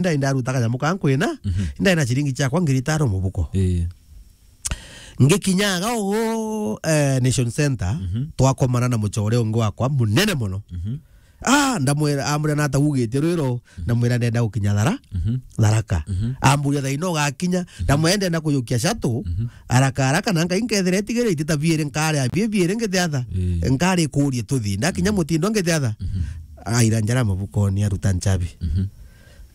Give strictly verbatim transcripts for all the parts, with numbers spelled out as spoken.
ndai ndaruta kanyamu kankwina, Mhm. ndai na ciringi ciakwa ngiri itano mubuko. Ii. Ngikinyaga ugu, eh, Nation Center, Mhm. twakomana na mucore ungi wakwa munene mono. Mhm. Ah, ndamwira, amwira nata ugite rwiro, Mhm. ndamwira ndenda gukinya Thara-, Mhm. Tharaka. Mhm. Amburia thaino ugakinya, Mhm. ndamwira ndenda kuyukia shuttle, Mhm. haraka haraka, na ngai nkethira itigire itita biiri nkari abie biiri ngitiatha. Ii. Nkari kurie tuthi. Ndakinya Mhm. mutindo ngitiatha. Mhm. Aira njara mabukoni aruta nchabi. Mhm.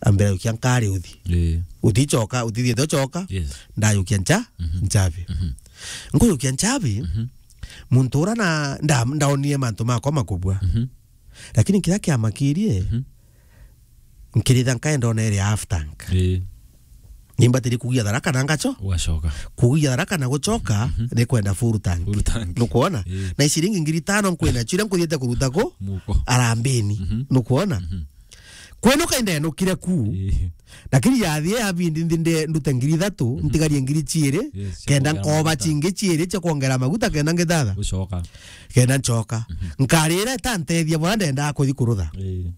Ambira yukia nkari uthi. Ii. Utichoka, utithiete uchoka. Yes. Ndayukia ncha, Mhm. nchabi. Mhm. Nkuyukia nchabi, Mhm. muntu ura na, nda-, ndaonire mantu makwa makubwa. Mhm. Lakini kiria kiamakirie, Mhm. nkiritha nkaenda ona iri half tank. Ii. Nimbatiri kugia Tharaka na ngacho-, Ugacoka. Kugia Tharaka na gucoka, Mhm. ni kwenda full tank. Full tank. Nukwona? Ii. Na ciringi ngiri itano nkwina, chira nkuthiete kuruta ku? Muko. Arambini. Mhm. Nukwona? Mhm. Kwenuka indenukire ku. Ii. Lakini yathie ya bindi nthi nde-, ndute ngiri ithatu, Mhm. ntigarie ngiri ciiri, Yes, cia kenda kuongera nkoba maguta. Cingi ciiri cia kuongera maguta, kenda ngithatha. Gucoka. Kenda ncoka. Mhm. Nkarira itantethia bora ndendaa kuthi kurutha. Ii.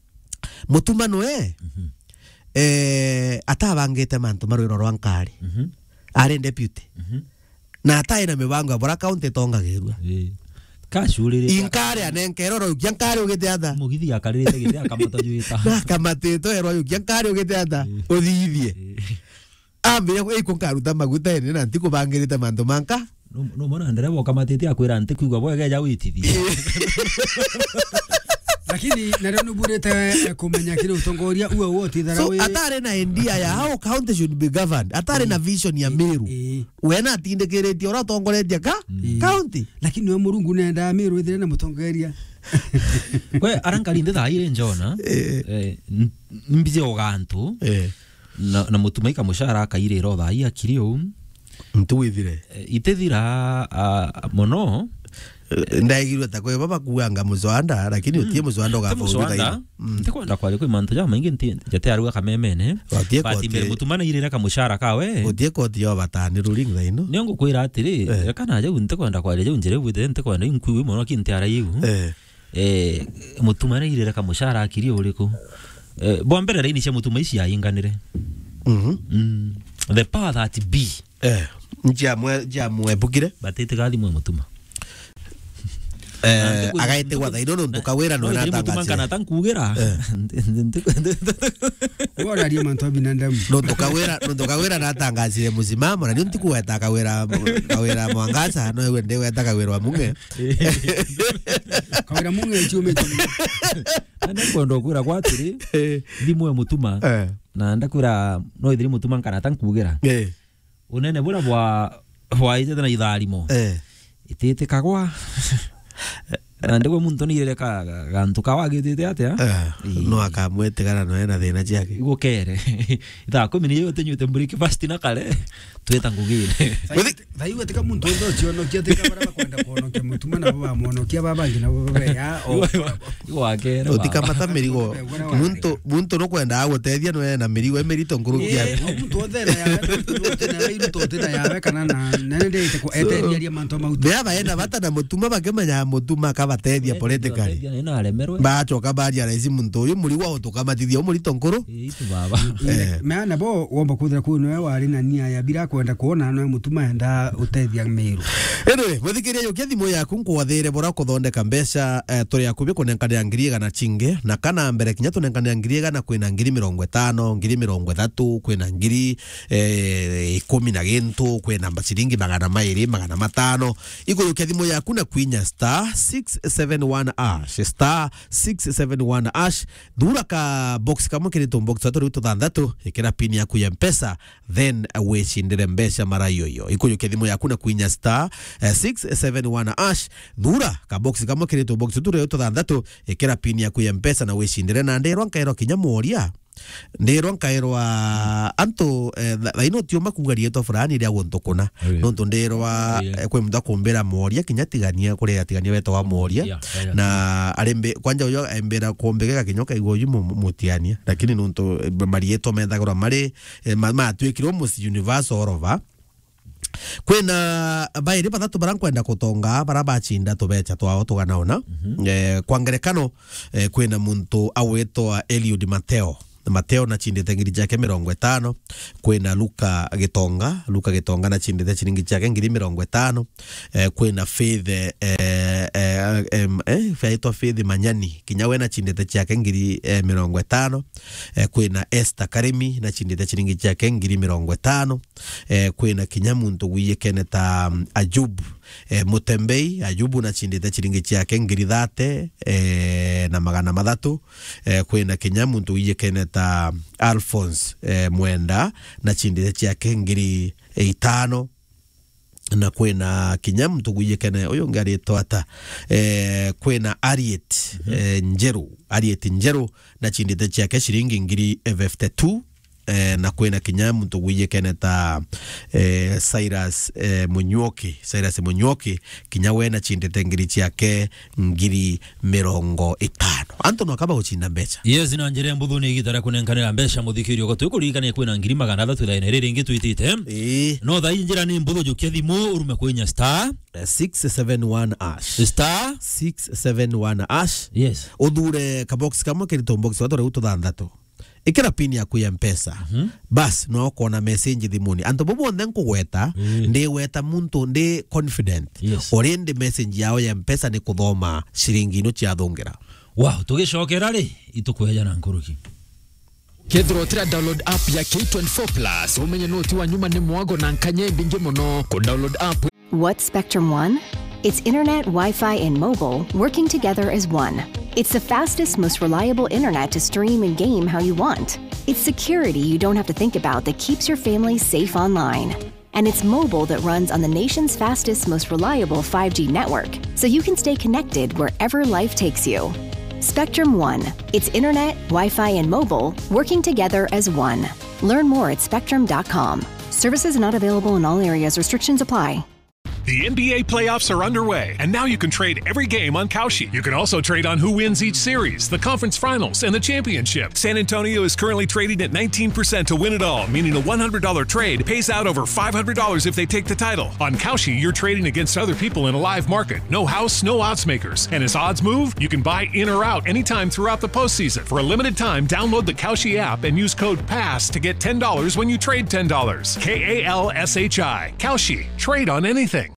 Mutuma nwe, Mhm. eh, atabangite mantu ma rwiro rwa nkari. Mhm. Ari deputy. Mhm. Na atai na mibango ya bora county itongagirua. Ii. Kacurire. Inkari anenkere oro yukia nkari ugite atha. Mugithi akaririte giti akamata juita. Na akamatitwe ero yukia nkari ugite atha. Ii. Uthithie. Ii. Ambire, "Iko nkaruta maguta ene na ntikubangirite mantu manka." No, no mwana ndereba ukamatite akwira, "Ntikwigua bwega, eja witithie." Lakini nario nuburite, eh, kumenya kiri utongoria uwe uwe utithara. So, wi- atari na idea ya how county should be governed, atari na vision ya Meru. Ii. We na atindikiritie uria utongoretie ka-, Mm. county. Lakini we Murungu nenda Meru ithire na mutongoria. We, ara nkari nthi thaa iri njona, Eh. eh, n-, mbije ugantu, Eh. na, na mutumai kamucara akairira o thaa ii akiri uu. Ntu withire. Eh, itithira, ah, mono. Eh, ndaigirwe ta kwe baba kuanga mucwanda, lakini Mm. utie mucwanda Ti ugafa mucwanda, uthithaira. Mm. Ntikwenda kwaria kwi mantu jamaingi nti-, jate arua kamemene. Utie But koti- mbere mutuma nairire kamucara kawe. Utie koti yo batani ruling thaino. Nio ngukwira atiri, Eh. reka na jau ntikwenda kwaria jau njire bwite ntikwenda inkui mono kinti araiu. Eh. Eh, mutuma nairire kamucara akiri uriku? Eh, bwa mbere raini cia mutuma ici yainganire. Mhm. Mm. The power that be. Eh, njia mwe, njia mwe bukire. Batite gathi mwe mutuma. Eh, Na ntiku- agaitigwa thaino nontu Kawira no no ithiri mutuma natangazire. Nkana ta nkugira. Eh. Nti-, nti-, nti-, Uwe uraria mantu a binadamu. Nontu Kawira, nontu Kawira natangazire musimamo, na nio ntikugweta Kawira, Kawira Mwangaza, no iwe ndigweta Kawira wa Mung'e. Kawira Mung'e ciumite. Na nkwenda kwira kwa atiri, Eh. thimu ya mutuma. Eh. Na ndakwira, no ithiri mutuma nkana ta nkugira. Eh. Unene buria bwa, bwaijete na itharimo. Eh. Ititikagwa. Na ndigwe muntu nirere ka, ka, gantu ka wagitite atia? Eh, Ii. No akamwetigana noe na thina ciake. Igukere. Ithaa kumi ni yote nyuite breakfast na kare, tweta ngugire. Thai-, thai we tika muntu onthe ucionokia, tika bara bakwenda kuonokia mutuma nabo bamwonokia, baba bangi nabo babeya, o Igo, igo, igo wakere, baba. Utikamata mirigo. Muntu, muntu nukwenda agutethia noe na mirigo emirito nkuruki Eh, yaku. Muntu onthe na yawe, muntu onthe na yawe, iruto onthe na yawe, kana na, na nende ite ku-, So, eteria mantu mau. Bea baenda bata na mutuma bakimenya mutuma akabatethia Eh, politically. Bateria, na aremerwe. Bacoka baria raisi muntu uyu murigo utukamatithia umurito nkuru. Eh, itu baba. Eh. Mea nabo womba kwithira kuu niwe wari na nia ya bira kwenda kuona noe mutuma enda utethia Meru. Anyway, muthikiria yukia thimu yaku nkwathire bora kuthondeka mbeca, eh, turi akubi kunenkanira ngiri igana cingi, na kana mbere kinya tunenkanira ngiri igana kwina ngiri mirongo itano, ngiri mirongo ithatu, kwina ngiri, eh, ikumi na gintu, kwina mba-, ciringi magana mairi, magana matano. Ikuyukia thimu yaku na kwinya star six seven one hash, star six seven one hash. Thura ka box kamwe kiri tu box tatu riu tuthanthatu, ikira pin yaku ya Mpesa, then wicindire mbeca mara yoyo. Ikuyukia thimu yaku na kwinya star, eh, six seven one hash. Thura ka box kamwe kiri tu box turi tuthanthatu, ikira pin yaku ya Mpesa na wicindire. Na ndirwa nkairwa kinya mworia. Ndirwa nkairwa antu, eh, tha-, thaino tiuma kuga rietwa fulani ria guntu kuna. Aya. Nontu ndirwa, Aya. eh, kwi muntu akumbira mworia kinya tigania, kuri atigania wetagwa mworia. Yeah, yeah, yeah. Na arimbi-, kwanja uyo embira kumbigega kinya ukaigua uyu mu-, mu-, mutiania. Lakini nontu, eh, marietwa methagirwa mari eh, ma-, matwikirwo Miss Universe all over. Kwina bairi bathatu bara nkwenda kutonga, bara bacinda tubecha twao tuganaona. Mhm. Eh, kwa ngerekano, eh, kwina muntu agwitwa Eliud Mateo. Mateo nachindite ngiri ciake mirongo itano. Kwina Luka Gitonga, Luka Gitonga nachindite ciringi ciake ngiri mirongo itano. Eh, kwina Faith, eh, eh, em, eh, aitwa Faith Manyani, kinya we nachindite ciake ngiri, eh, mirongo itano. Eh, kwina Esther Karimi, nachindite ciringi ciake ngiri mirongo itano. Eh, kwina kinya muntu wijikene ta, mm, Ajubu, eh, Mutembei, Ajubu nachindite ciringi ciake ngiri thate, eh, na magana mathatu. Eh, kwina kinya muntu wijikene ta Alphonse, eh, Mwenda, nachindite ciake ngiri itano. Na kwina kinya muntu wijikene, uyu ungi aritwa ata? Eh, kwina Ariet, eh, Njeru, Ariet Njeru, nachindite ciake ciringi ngiri fifty-two. Eh, na kwina kinya muntu wijikene ta, eh, Cyrus, eh, Munyuoki, Cyrus Munyuoki, kinya we nachindite ngiri ciake ngiri mirongo itano. Antu no kaba gucinda mbeca. Yes, na njira mbuthu ni igita ria kunenkanira mbeca muthikirio. Ko twi kuririkania kwina ngiri magana athatu thaine riri ringi twitite. Ii. No thaa ii njira ni mbuthu, jukia thimu, urume kwinya star, eh, six seven one hash. Star six seven one hash. Yes. Uthure kabox kamwe kirito box wa tore ututhanthatu. Ikira pin yaku ya Mpesa. Mhm. Bas, no ukona message thimuni. Antu bo bonthe nkugweta, mm, ndiweta muntu ndi confident. Yes. Already message yao ya Mpesa ni kuthoma ciringi ino ciathungira. Wow, tugicokera ri, itukweja na nkuruki. Kethira utira download app ya K twenty-four plus, umenye noti wa nyuma ni mwago na nkanya imbingi muno. Ku download app. What's Spectrum One? It's internet, Wi-Fi, and mobile working together as one. It's the fastest, most reliable internet to stream and game how you want. It's security you don't have to think about that keeps your family safe online. And it's mobile that runs on the nation's fastest, most reliable five G network, so you can stay connected wherever life takes you. Spectrum One. It's internet, Wi-Fi, and mobile working together as one. Learn more at spectrum dot com. Services not available in all areas. Restrictions apply. The N B A playoffs are underway, and now you can trade every game on Kalshi. You can also trade on who wins each series, the conference finals, and the championship. San Antonio is currently trading at nineteen percent to win it all, meaning a one hundred dollar trade pays out over five hundred dollars if they take the title. On Kalshi, you're trading against other people in a live market. No house, no odds makers. And as odds move, you can buy in or out anytime throughout the postseason. For a limited time, download the Kalshi app and use code pass to get ten dollars when you trade ten dollars. K A L S H I. Kalshi. Trade on anything.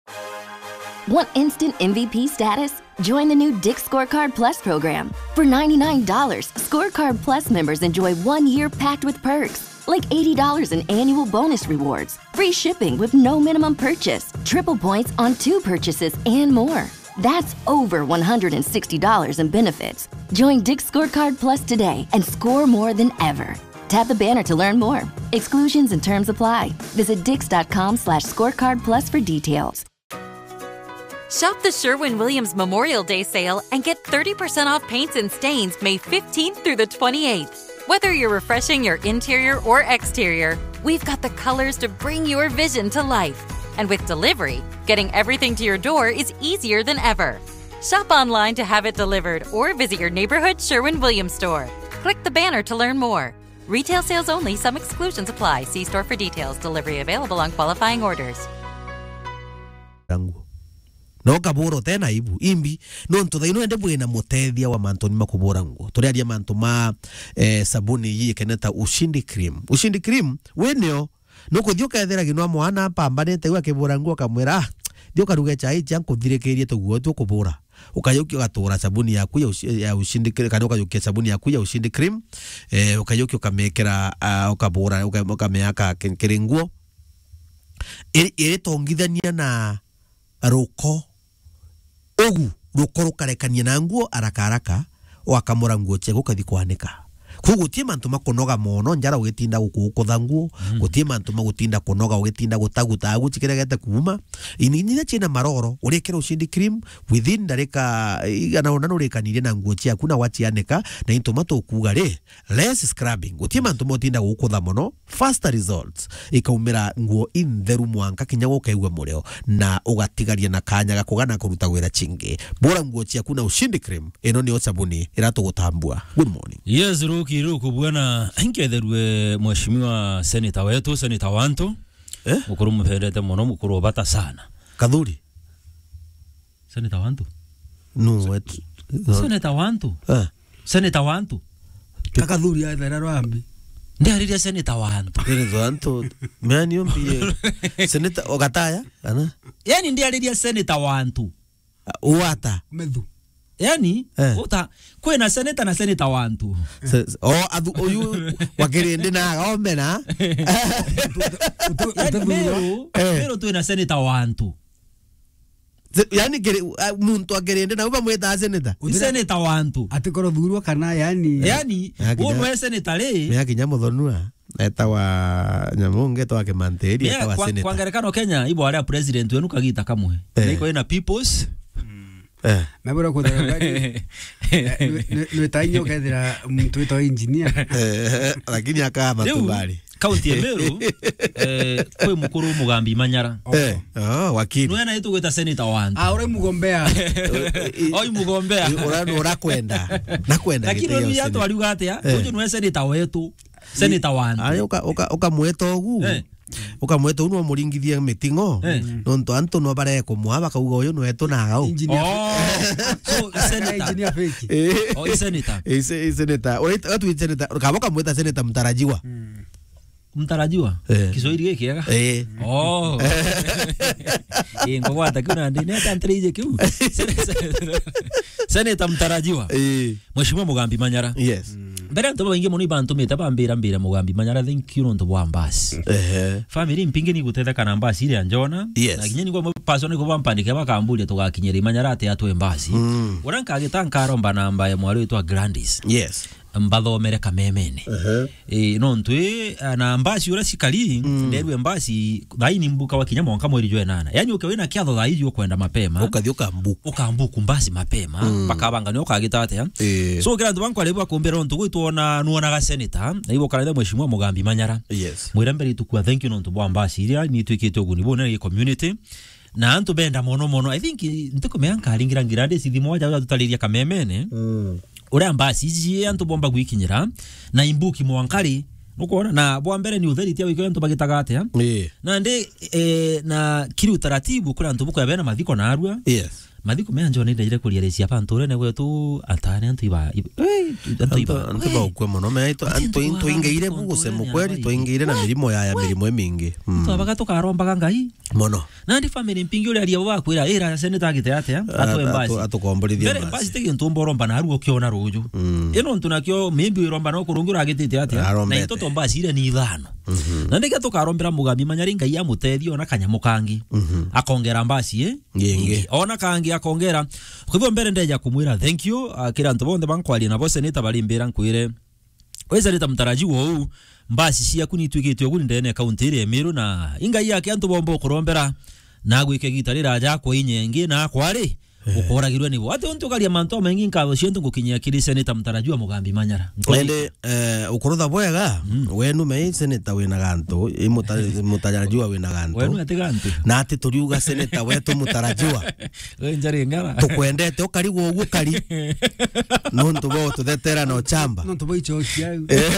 Want instant M V P status? Join the new Dick's Scorecard Plus program. For ninety-nine dollars, Scorecard Plus members enjoy one year packed with perks, like eighty dollars in annual bonus rewards, free shipping with no minimum purchase, triple points on two purchases, and more. That's over one hundred sixty dollars in benefits. Join Dick's Scorecard Plus today and score more than ever. Tap the banner to learn more. Exclusions and terms apply. Visit dicks dot com slash scorecard plus for details. Shop the Sherwin Williams Memorial Day sale and get thirty percent off paints and stains May fifteenth through the twenty-eighth. Whether you're refreshing your interior or exterior, we've got the colors to bring your vision to life. And with delivery, getting everything to your door is easier than ever. Shop online to have it delivered or visit your neighborhood Sherwin Williams store. Click the banner to learn more. Retail sales only, some exclusions apply. See store for details. Delivery available on qualifying orders. Rangu. No kabura utena aibu. Imbi, nontu thaino ende bwina mutethia wa mantu ni makubura nguo. Turiaria mantu ma, eh, sabuni iji ikene ta Ushindi Cream. Ushindi Cream, we nio, nukuthii ukethira ginwa mwana apambanite, iwe akibura nguo akamwira, "Ah, thii ukaruge chai cia nkuthirikirie tuguo tu kubura." Ukajukia ugatura sabuni yaku ya Ushi-, ya Ushindi Cream, kana ukajukia sabuni yaku ya Ushindi Cream, eh, ukajukia ukamekera, ah, ukabura, uka-, ukameaka ki-, kiri nguo. Iri-, iritongithania na ruko. Ugu ruko rukarekania na nguo haraka haraka, ugakamura nguo ciaku ukathi kwanika. Kuu guti mantu ma kunoga mono, njara ugitinda gukukutha nguo, mm, guti mantu ma gutinda kunoga ugitinda gutaguta agu cikiregete kuuma. Ini, inya ciina maroro, urikira Ushindi Cream, within ndarika igana una nurikanirie na nguo ciaku na wacianika, na into matukuga ri, less scrubbing. Guti mantu ma utinda gukutha mono, faster results. Ikaumira nguo intheru mwanka kinya gukaigua murio, na ugatigaria na kanya ga kugana kuruta wira cingi. Bura nguo ciaku na Ushindi Cream. Ino niyo sabuni iratugutambua. Good morning. Yes, Ruki, Ruku bwana, nketherue mheshimiwa senator wetu, senator wantu. Eh? Mukuru mupendete muno, mukuru ubata sana. Kathuri? Senator wantu? No, wetu. Senator wantu? Eh. Senator wantu? Kakathuri ya thera rwambi. Ndiariria senator wa antu. Senator wa antu. Mea ni umbi ye. Senator o Gataya, kana? Yani ndiariria senator wa antu. Uata. Methu. Yani, eh, uta, kwina senator na senator wa antu. Se-, se-, o, athu-, uyu wa Kirindi na agombe na. Yani, Meru, eh, Meru twina senator wa antu. Se-, yani, kiri-, a, muntu akirinde na uba mwita senator. Ni senator wa antu. Ati koro thurwa kana, yani. Yani, ya kinya, uno e senator ri. Ya kinya Muthonua, etawa nyamu ungi etwa Kimantiri, mea etawa kwa, senator. Kwa ngerekano Kenya, ibo aria president wenu kagita kamwe. Eh. Niko ina people's. Eh. Mabura kuthara bari. Nwe tainyo kethira muntu witwa engineer. Eh, lakini akama tu bari. County ya Meru, eh, kwi mukuru Mugambi Manyara. Eh, oh, wakili. Nwe na itu gwita senator wa antu. Ah, uri mugombea. Oi mugombea. Ura, ura kwenda. Na kwenda. Lakini gitio uri ya senator. Twariuga atia? Eh. Uju nwe senator wetu. Senator wa antu. Ari uka, uka, ukamweta ugu. Eh. Ukamweta ugu no muringithie miting'o. Eh. Nontu antu no barekumwa bakauga uyu nwetu na agau. Engineer. Oh. So, senator. Engineer fake. Eh. Oh, i senator. I se-, i senator. Uraita, watu i senator. Kaba ukamweta senator mtarajiwa. Mm. Mtarajiwa? Eh. Kiswahili gikiega? Eh. Oh. Eh, ngogwata kiu nandi, ni ata ntereije kiu? Sen-, sen-, Senator mtarajiwa. Eh. Mheshimiwa Mugambi Manyara. Yes. Mm. Mbere antu baingi mono ibantumite bambira mbira Mugambi Manyara, thank you nontu bwa mbasi. Ehe. Family mpingi ni gutetheka na mbasi ile ya Njona. Yes. Na kinya ni kwa personal ko bampandike bakamburia tugakinyira Manyara ate atwe mbasi. Mm. Ura nkagita nkaromba namba ya mwari witwa Gladys. Yes. Mbathomere Kamemene. Ehe. Eh, nontu, eh, na mbasi ura cikari, mm, nderwe mbasi, thaini mbuka wa kinya mwanka mweri jwa enana. Yani, uke wina kiatho thaiji ukwenda mapema. Ukathi ukambuku. Ukambuku mbasi mapema, mm, bakabanga ni ukagita atia. Eh. So, kira antu bankwa ribu bakumbira nontu gwitwona nuonaga senator, na ibo karaitha Mheshimiwa Mugambi Manyara. Yes. Mwira mbere itukua thank you nontu bwa mbasi iria ni itwikite uguni bunene gi community. Na antu benda mono mono. I think, ntikumea nkaringira ngira ndi cithimo waja tutariria Kamemene. Mm. Uria mbasi iji antu bomba gwikinyira, na imbuki mwankari. Nukwona? Na bwa mbere ni authority ya wikio antu bagitaga atia? Ii. Na ndi, eh, na kiri utaratibu kuri antu bukwea bena mathiko na arua. Yes. Mathiko mea Njone ndaire kuria reci apa antu urene gwetu atane antu iba, iba, eh, antu iba. Antu, antu baukwe mono, me antu, antu ingeire bu gusema kweli, twaingeire na mirimo ya, ya mirimo imingi. Mm. Twabaga tukarombaga Ngai. Mono. Nandi family mpingi uria aria bakwira, ira senator agite atia? Atwe mbasi. Atukomborithia mbasi. Mbere mbasi tege ntu mboromba na aruo kiona ruju. Mm. Ino ntu nakio, maybe wiromba no kurungi uragitite atia? Na into to mbasi ire ni ithano. Mhm. Nandi kia tukarombera Mugambi Manyara Ngai amutethie ona kanyamu kangi. Mhm. Akongera mbasi, eh? Ingi. Ona kangi akongera. Kwa hivyo mbere ndeja kumwira thank you, ah, kira antu bonthe bankwaria nabo senator bari mbira nkwire. Weza rita mtarajiwa uu, mbasi ciaku ni itwikite uguni ndene ya kaunti iria ya Meru na ingai yake antu bomba ukurombera na agwike gita riraja akwa inyengi na akwari, eh, ukoragirwe nibo. Ati untu ukaria mantu amaingi nkatho cionthe ngukinyia kiri senator mtarajiwa Mugambi Manyara. Ende, eh, ukurutha bwega, mm, wenu mei senator wina gantu, i muta-, mutarajiwa wina gantu. Wenu ati gantu. Na ati turiuga senator wetu mutarajiwa. We njari ngara. Tukwendete ukarigwa uguo kari. Nontu bo tuthetera na uchamba. Nontu bo ichokia au. Eh.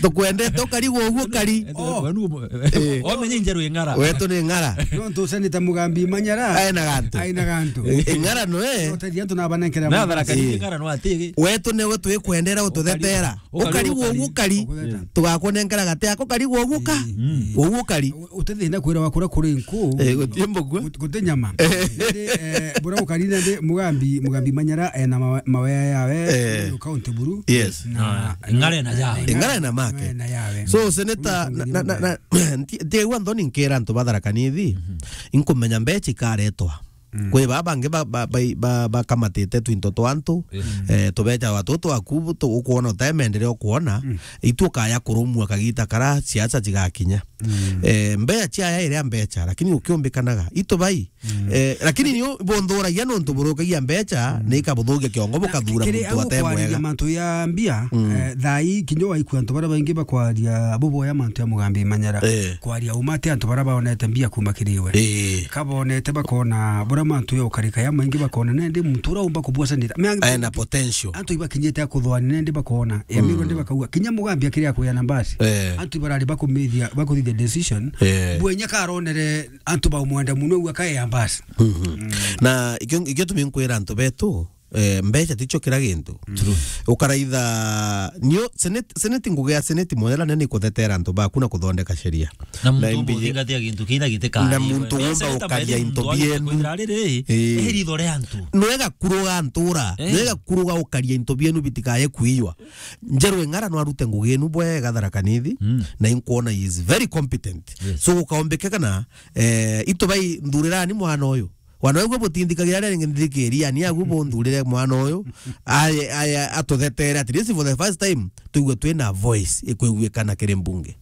Tukwendete ukarigwa uguo kari. Oh. Wenu, eh, omenye njeru ing'ara. Wetu ni ng'ara. Nontu senator Mugambi Manyara. Aina gantu. Aina gantu. Eh, ng'ara no, eh. Utethia antu na banenkera. Na Tharaka Nithi, eh, ng'ara no atigi. Wetu niwe twikwendera ututhetera. Ukarigwa uguo kari. Uguo kari. Tugakunenkera gati yako karigwa uguo ka. Mm. Uguo kari. Utethina kwira wakura kuri nku. Eh, guti mbugua. Guti nyama. Ndi, eh, bura ukarina ndi Mugambi, Mugambi Manyara, eh, na mawe-, mawea yawe, eh, county buru. Yes. Na, ah, ing'are na yawe. Ing'are na make. Na yawe. So, senator, na, na, na, na, nti-, ntiegua nthoni nkera antu ba Tharaka Nithi, mhm, inkumenya mbecha ikaretwa. Mm. Kwi baa bangi ba, ba, ba, ba, bakamatite twinto twa antu, mm, eh, tubecha watu twaku, tu-, ukwona utemendere ukwona, mm, itu ukaya kurumua kagita kara siasa cigakinya. Mm. Eh, mbecha aya iria mbecha, lakini ukiumbikanaga, itu bai, mm, eh, lakini ni u-, bunthuragia nontu burukagia mbecha, mm, ni ikabuthugia kiongo, na bukathura kiri muntu au ate kwaria mwega. Mantu ya mbia, mm, eh, thaa ii kinya waikua antu baria baingi bakwaria buboya mantu ya Mugambi Manyara. Eh. Kwaria uma ati antu baria baonete mbia kuma kiri we. Eh. Kabonete bakona buria mantu ya ukarika ya maingi bakona nende muntu ura umba kubwasanira. Ena potential. Antu ibakinyite ya kuthwani nende bakona. Ya, mm, mirwo nende bakauga. Kinya Mugambi akiri ya kuya na mbasi. Eh. Antu ibarari bakumithia, bakuthithia decision. Eh. Bwenya karonere antu baumwenda muno ua kae ya mbasi. Mhm. Mm. Na ikio, ikio tuminkwira antu betu, eh, mbeca ticio kira gintu. True. Ukaraitha, nio, seneti, seneti, ngugi ya seneti mwethera nene ikuthetera antu baku na kuthondeka sheria. Na muntu umbe uthingatia gintu kina gitikae. Na muntu umbe ukaria into bienu. Kwithira riri, eh, ritho ria antu. Nwega kuruga ntura, eh, nwega kuruga ukaria into bienu bitikaye kuiywa. Njeru Eng'ara no arute ngugi inu bwega Tharaka Nithi, mm, na inkwona he is very competent. Yes. So gukaombeke kana, eh, itu bai nthurirani mwana uyu. Wana uguo butindikagira ria ringi nthikiri, yani agu bunthurire mwana uyu, aye, aye atuthetere at least for the first time, tuigue twina voice ikwiguikana kiri mbunge.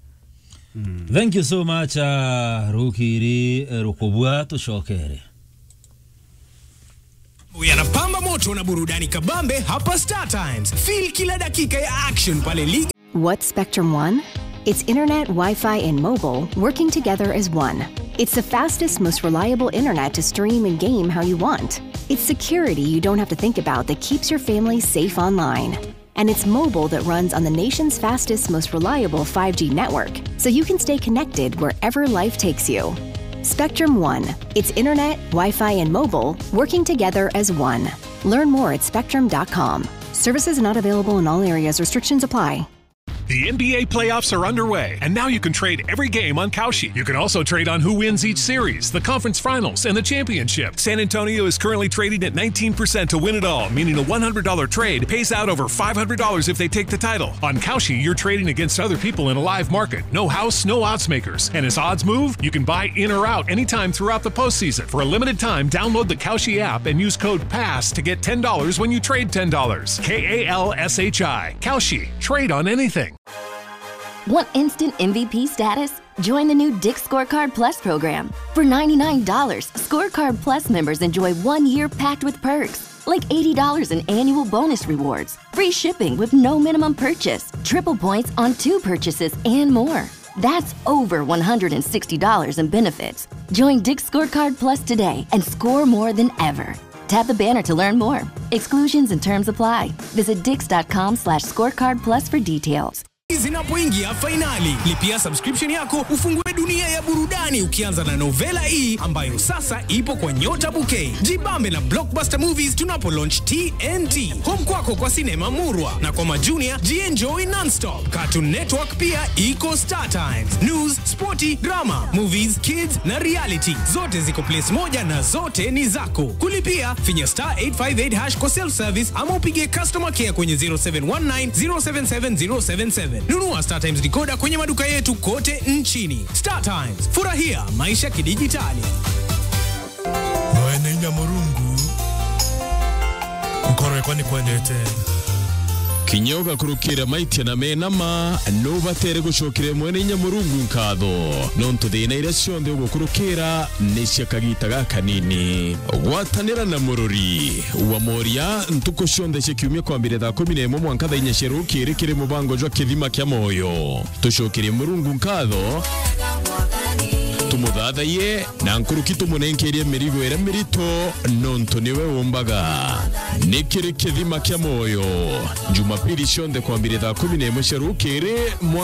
Thank you so much, uh, Rukiri, eh, Rukubua, tucokere. Yanapamba moto na burudani kabambe hapa Star Times. Feel kila dakika ya action pale ligi. What's Spectrum One? It's internet, Wi-Fi, and mobile working together as one. It's the fastest, most reliable internet to stream and game how you want. It's security you don't have to think about that keeps your family safe online. And it's mobile that runs on the nation's fastest, most reliable five G network, so you can stay connected wherever life takes you. Spectrum One. It's internet, Wi-Fi, and mobile working together as one. Learn more at spectrum dot com. Services not available in all areas. Restrictions apply. The N B A playoffs are underway, and now you can trade every game on Kalshi. You can also trade on who wins each series, the conference finals, and the championship. San Antonio is currently trading at nineteen percent to win it all, meaning a one hundred dollar trade pays out over five hundred dollars if they take the title. On Kalshi, you're trading against other people in a live market. No house, no odds makers. And as odds move, you can buy in or out anytime throughout the postseason. For a limited time, download the Kalshi app and use code pass to get ten dollars when you trade ten dollars. K A L S H I. Kalshi. Trade on anything. Want instant M V P status? Join the new Dick's Scorecard Plus program. For ninety-nine dollars, Scorecard Plus members enjoy one year packed with perks, like eighty dollars in annual bonus rewards, free shipping with no minimum purchase, triple points on two purchases, and more. That's over one hundred sixty dollars in benefits. Join Dick's Scorecard Plus today and score more than ever. Tap the banner to learn more. Exclusions and terms apply. Visit dicks dot com slash scorecard plus for details. Zinapoingia fainali, lipia subscription yako ufungue dunia ya burudani ukianza na Novela E ambayo sasa ipo kwa Nyota Bouquet. Jibambe na Blockbuster Movies tunapo launch T N T. Home kwako kwa sinema murwa na kwa majunia jienjoy nonstop. Cartoon Network pia iko Star Times. News, sporti, drama, movies, kids na reality. Zote ziko place moja na zote ni zako. Kulipia, finya star eight five eight hash kwa self service ama upige customer care kwenye zero seven one nine zero seven seven zero seven seven. Nunua Star Times decoder kwenye maduka yetu kote nchini. Star Times, furahia maisha kidijitali. Mwene inya Murungu, nkoro yakwa ni kwendete. Kinya ugakurukira maitia na menama, nubatere gucokeria Mwene inya Murungu nkatho, nontu thina iria cionthe ugukurukira ni cia kagita gakanini. Gwatanira na murori wa Moria ntuku cionthe cia kiumia kwambire thaa kumi na imwe mwanka thaa inya cia rukiri kiri mubango jwa Kithima kia Moyo. Tucokerie Murungu nkatho, tumuthathaiye, na nkuruki tumunenkerie mirigo iria mirito, nontu niwe umbaga. Ni kiri Kithima kia Moyo, Jumapili cionthe kwambire thaa kumi na imwe cia rukiri,